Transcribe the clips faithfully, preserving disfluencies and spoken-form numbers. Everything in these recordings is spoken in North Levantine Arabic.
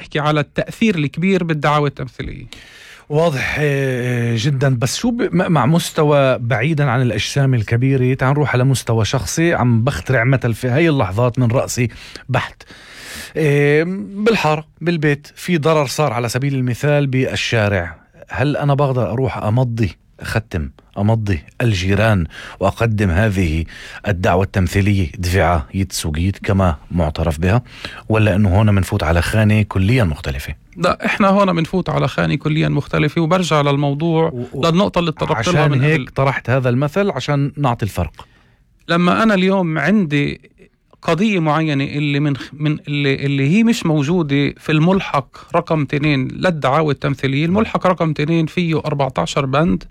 نحكي على التأثير الكبير بالدعاوى التمثيلية. واضح جدا. بس شو مع مستوى بعيدا عن الأجسام الكبيرة، تعال نروح على مستوى شخصي. عم بخترع مثل في هاي اللحظات من رأسي بحت. بالحارة بالبيت في ضرر صار على سبيل المثال بالشارع، هل أنا بقدر أروح أمضي أختم أمضي الجيران وأقدم هذه الدعوة التمثيلية دفعة يتسوقيت كما معترف بها، ولا أنه هنا منفوت على خانة كليا مختلفة؟ لا، إحنا هنا منفوت على خانة كليا مختلفة. وبرجع للموضوع و... للنقطة اللي تطرقت لها من هيك قبل. طرحت هذا المثل عشان نعطي الفرق. لما أنا اليوم عندي قضية معينة اللي من من اللي, اللي هي مش موجودة في الملحق رقم اثنين للدعاوى التمثيلية. الملحق رقم اثنين فيه أربعة عشر بند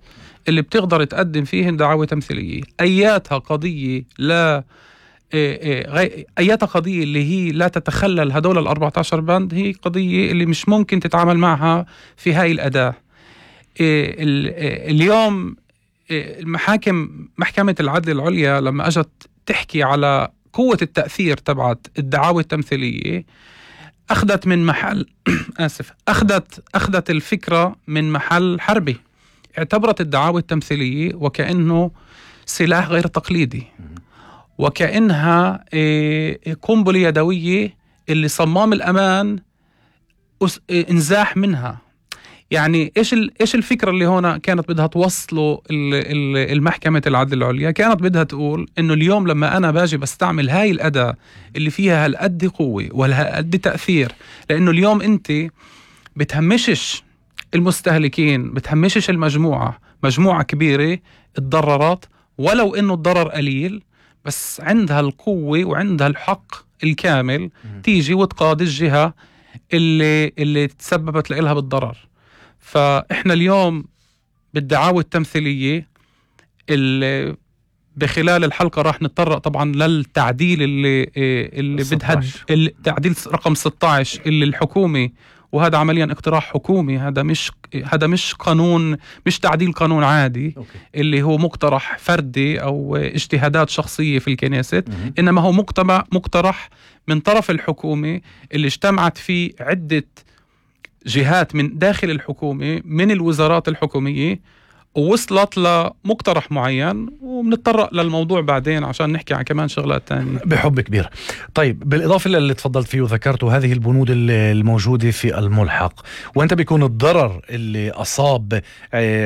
اللي بتقدر تقدم فيهن دعاوى تمثيلية. أياتها قضية لا أياتها قضية اللي هي لا تتخلل هدول الأربعة عشر بند، هي قضية اللي مش ممكن تتعامل معها في هاي الأداة. اليوم المحاكم، محكمة العدل العليا لما أجت تحكي على قوة التأثير تبعت الدعاوى التمثيلية، أخذت من محل آسف أخذت أخذت الفكرة من محل حربي. اعتبرت الدعاوى التمثيلية وكأنه سلاح غير تقليدي، وكأنها قنبلة يدوية اللي صمام الأمان انزاح منها. يعني إيش إيش الفكرة اللي هنا كانت بدها توصله المحكمة العدل العليا؟ كانت بدها تقول إنه اليوم لما أنا باجي بستعمل هاي الأداة اللي فيها هالقد قوة وهالقد تأثير، لأنه اليوم أنت بتهمشش المستهلكين، بتهمشش المجموعة، مجموعة كبيرة اتضررت ولو إنه الضرر قليل، بس عندها القوة وعندها الحق الكامل تيجي وتقاضي الجهة اللي اللي تسببت لها بالضرر. فإحنا اليوم بالدعاوى التمثيلية اللي بخلال الحلقة راح نتطرق طبعا للتعديل اللي اللي بدها التعديل رقم ستة عشر اللي الحكومة، وهذا عمليا اقتراح حكومي، هذا مش هذا مش قانون، مش تعديل قانون عادي. أوكي. اللي هو مقترح فردي أو اجتهادات شخصية في الكنيسة، إنما هو مقترح من طرف الحكومة اللي اجتمعت فيه عدة جهات من داخل الحكومة من الوزارات الحكومية، ووصلت لمقترح معين، وبنتطرق للموضوع بعدين عشان نحكي عن كمان شغلات تانية بحب كبير. طيب، بالإضافة للي تفضلت فيه وذكرته هذه البنود الموجودة في الملحق، وأنت بيكون الضرر اللي أصاب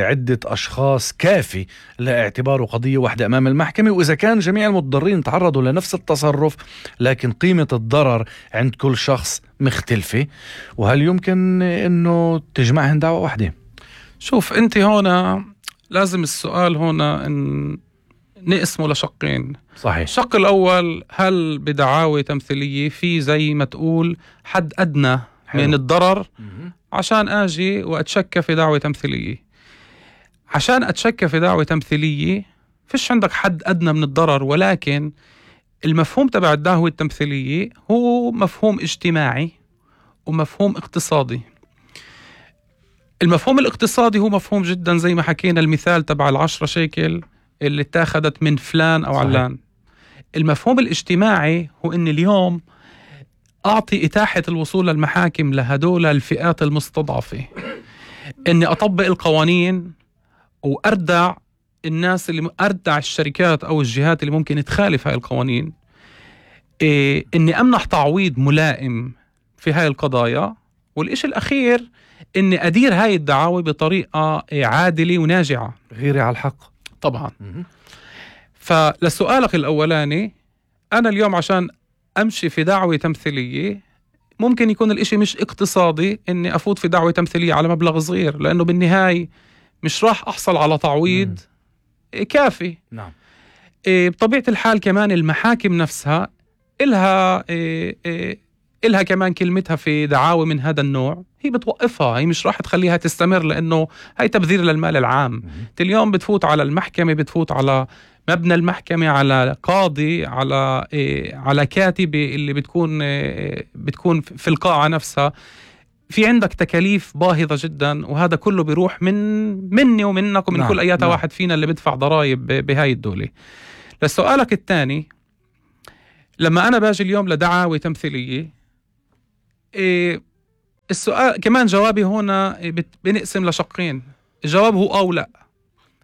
عدة أشخاص كافي لاعتباره قضية واحدة أمام المحكمة، وإذا كان جميع المتضررين تعرضوا لنفس التصرف لكن قيمة الضرر عند كل شخص مختلفة، وهل يمكن أنه تجمعهن دعوة واحدة؟ شوف أنت هنا لازم السؤال هنا إن نقسمه لشقين. صحيح. الشق الأول، هل بدعاوى تمثيلية في زي ما تقول حد أدنى حلو. من الضرر م- عشان أجي وأتشكى في دعوة تمثيلية؟ عشان أتشكى في دعوة تمثيلية فيش عندك حد أدنى من الضرر، ولكن المفهوم تبع الدعوة التمثيلية هو مفهوم اجتماعي ومفهوم اقتصادي. المفهوم الاقتصادي هو مفهوم جدا، زي ما حكينا المثال تبع العشرة شيكل اللي اتاخدت من فلان أو صحيح. علان. المفهوم الاجتماعي هو إن اليوم أعطي إتاحة الوصول للمحاكم لهدول الفئات المستضعفة، إني أطبق القوانين وأردع الناس اللي أردع الشركات أو الجهات اللي ممكن تخالف هاي القوانين، إيه إني أمنح تعويض ملائم في هاي القضايا، والإشي الأخير إني أدير هاي الدعاوى بطريقة عادلة وناجعة، غيري على الحق طبعا. فلسؤالك الأولاني، أنا اليوم عشان أمشي في دعوة تمثيلية ممكن يكون الإشي مش اقتصادي إني أفوت في دعوة تمثيلية على مبلغ صغير، لأنه بالنهاية مش راح أحصل على تعويض مم. كافي. نعم. إيه بطبيعة الحال كمان المحاكم نفسها إلها إيه إيه إلها كمان كلمتها في دعاوى من هذا النوع، هي بتوقفها، هي مش راح تخليها تستمر، لأنه هاي تبذير للمال العام. اليوم بتفوت على المحكمة، بتفوت على مبنى المحكمة، على قاضي، على إيه على كاتبة اللي بتكون إيه بتكون في القاعة نفسها، في عندك تكاليف باهظة جدا، وهذا كله بيروح من مني ومنك ومن نعم. كل أيات نعم. واحد فينا اللي بدفع ضرائب بهاي الدولة. لسؤالك الثاني، لما أنا باجي اليوم لدعاوى تمثيلية، إيه السؤال كمان جوابي هنا بت- بنقسم لشقين. الجواب هو أو لا.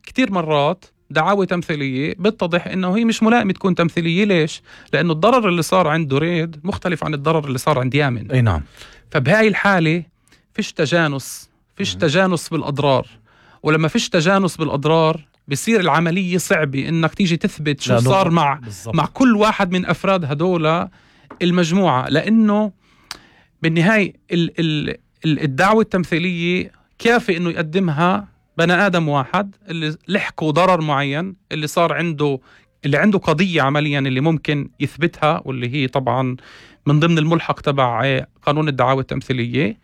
كتير مرات دعاوى تمثيلية بتتضح إنه هي مش ملائمة تكون تمثيلية. ليش؟ لأنه الضرر اللي صار عند دريد مختلف عن الضرر اللي صار عند يامن. أي نعم. فبهاي الحالة فيش تجانس فيش تجانس بالأضرار، ولما فيش تجانس بالأضرار بصير العملية صعبة إنك تيجي تثبت شو صار مع بالزبط. مع كل واحد من أفراد هدول المجموعة، لأنه بالنهاية ال ال الدعوة التمثيلية كافي إنه يقدمها بني آدم واحد اللي لحقوا ضرر معين، اللي صار عنده اللي عنده قضية عمليا اللي ممكن يثبتها، واللي هي طبعا من ضمن الملحق تبع قانون الدعاوى التمثيلية.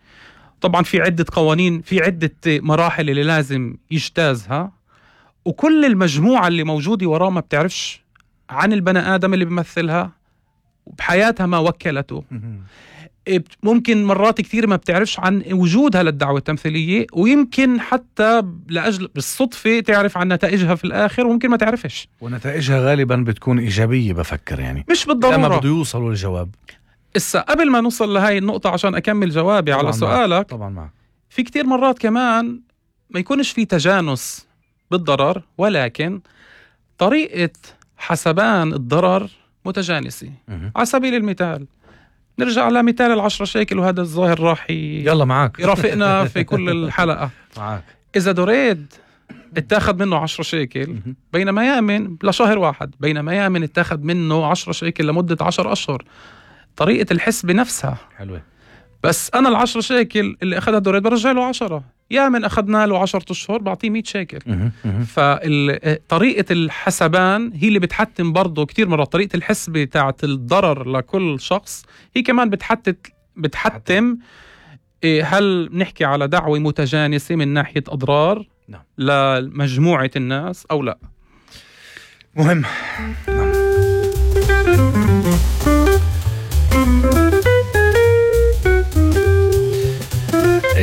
طبعا في عدة قوانين، في عدة مراحل اللي لازم يجتازها، وكل المجموعة اللي موجودة وراه ما بتعرفش عن البني آدم اللي بيمثلها بحياتها ما وكلته. ممكن مرات كثير ما بتعرفش عن وجودها للدعوة التمثيلية، ويمكن حتى لأجل بالصدفة تعرف عن نتائجها في الآخر، وممكن ما تعرفش. ونتائجها غالبا بتكون إيجابية بفكر يعني، مش بالضرورة لما بده يوصلوا للجواب. إسا قبل ما نوصل لهاي النقطة عشان أكمل جوابي على سؤالك، طبعا معك. في كتير مرات كمان ما يكونش في تجانس بالضرر، ولكن طريقة حسبان الضرر متجانسة. على سبيل المثال نرجع لمثال العشرة شيكل، وهذا الظاهر راح ي... يلا معك يرافقنا في كل الحلقة. معك. إذا دريد اتاخد منه عشرة شيكل بينما يامن لشهر واحد، بينما يامن اتاخد منه عشرة شيكل لمدة عشر أشهر، طريقة الحسبة نفسها حلوة. بس أنا العشرة شيكل اللي أخذها دريد برجع له عشرة، يامن أخذنا له عشرة أشهر بعطيه مية شيكل. فطريقة الحسبان هي اللي بتحتم برضو كتير مرات طريقة الحسبة تاعت الضرر لكل شخص، هي كمان بتحتم بتحتم هل نحكي على دعوة متجانسة من ناحية أضرار نعم. لمجموعة الناس أو لا. مهم. نعم.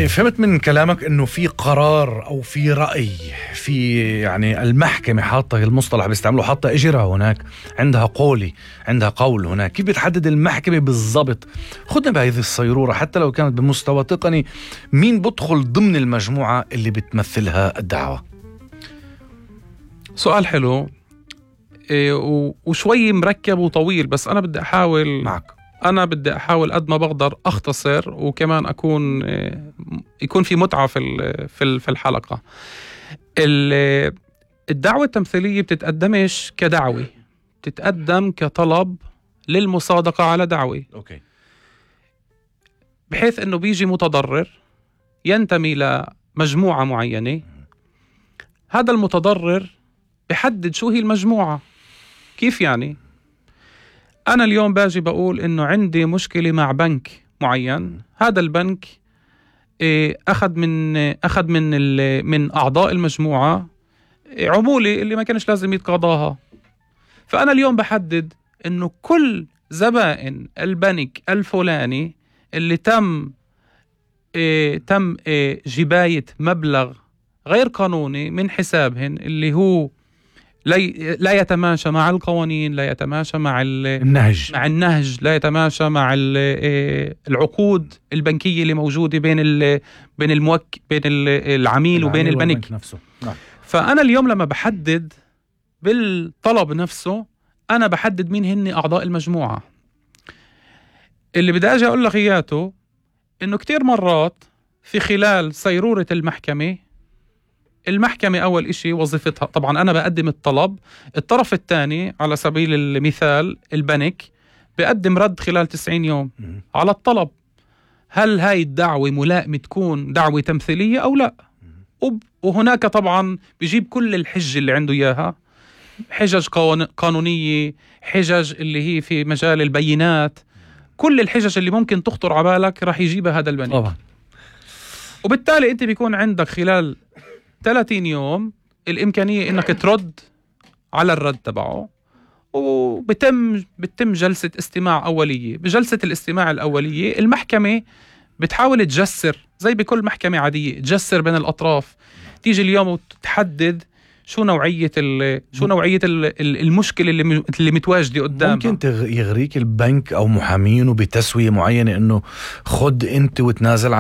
فهمت من كلامك انه في قرار او في رأي، في يعني المحكمة حاطة المصطلح بيستعملوا، حاطة اجرها هناك، عندها قولي، عندها قول هناك. كيف بتحدد المحكمة بالضبط؟ خدنا بهذه الصيرورة حتى لو كانت بمستوى تقني، مين بدخل ضمن المجموعة اللي بتمثلها الدعوة؟ سؤال حلو إيه وشوي مركب وطويل، بس انا بدي احاول معك. أنا بدي أحاول قد ما بقدر أختصر، وكمان أكون يكون في متعة في في الحلقة. الدعوة التمثيلية بتتقدمش كدعوة، بتتقدم كطلب للمصادقة على دعوة. أوكي. بحيث أنه بيجي متضرر ينتمي لمجموعة معينة، هذا المتضرر بحدد شو هي المجموعة. كيف يعني؟ أنا اليوم باجي بقول إنه عندي مشكلة مع بنك معين، هذا البنك أخذ من أخذ من من أعضاء المجموعة عمولة اللي ما كانش لازم يتقاضاها. فأنا اليوم بحدد إنه كل زبائن البنك الفلاني اللي تم تم جباية مبلغ غير قانوني من حسابهن، اللي هو لا يتماشى مع القوانين، لا يتماشى مع النهج مع النهج لا يتماشى مع العقود البنكية اللي موجودة بين بين الموك بين العميل وبين البنك نفسه. نعم. فأنا اليوم لما بحدد بالطلب نفسه، أنا بحدد مين هن أعضاء المجموعة. اللي بدي أجي أقول لك إياته إنه كتير مرات في خلال صيرورة المحكمة، المحكمة أول إشي وظيفتها طبعا أنا بقدم الطلب، الطرف الثاني على سبيل المثال البنك بقدم رد خلال تسعين يوم على الطلب. هل هاي الدعوة ملائمة تكون دعوة تمثيلية أو لا؟ وهناك طبعا بيجيب كل الحجة اللي عنده إياها، حجج قانونية، حجج اللي هي في مجال البينات، كل الحجج اللي ممكن تخطر على بالك راح يجيبها هذا البنك طبعا. وبالتالي أنت بيكون عندك خلال ثلاثين يوم الإمكانية إنك ترد على الرد تبعه، وبتم بتم جلسة استماع أولية. بجلسة الاستماع الأولية المحكمة بتحاول تجسر زي بكل محكمة عادية، تجسر بين الأطراف، تيجي اليوم وتحدد شو نوعية شو نوعية المشكلة اللي اللي متواجدة قدامها. ممكن يغريك البنك أو محامين بتسوية معينة إنه خد أنت وتنازل عن